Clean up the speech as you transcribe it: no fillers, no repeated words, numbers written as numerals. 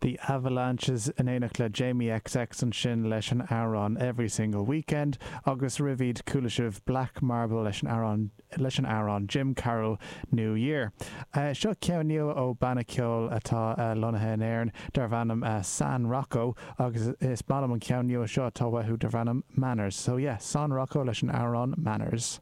The Avalanches in éineacht le Jamie XX ansin leis an amhrán Every Single Weekend agus roimh iad chuala sibh Black Marble leis an amhrán leis an amhrán Jim Carroll New Year. Seo ceann nua ó banna ceoil atá lonnaithe in Éirinn darbh ainm San Rocco agus is maith liom an ceann nua seo atá uathu darbh ainm Manners. So yeah, San Rocco leis an amhrán Manners.